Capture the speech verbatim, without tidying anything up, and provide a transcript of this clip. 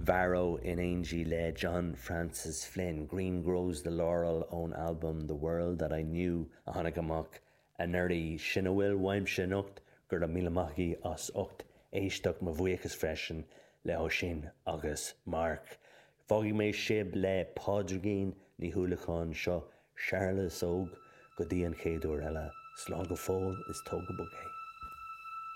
Varro in éindí le John Francis Flynn, Green Grows the Laurel ón albam The World That I Knew a tháinig amach anuraidh. Sin a bhfuil uaimse anocht go raibh míle maith agaibh as ucht éisteacht mo bhuíochas freisin le hOisín agus Mark. Fágfaidh mé sibh le Pádraigín Ní Húlacháin seo Searlas Óg go dtí an chéad uair eile, slán go fóill is tóg go bog é.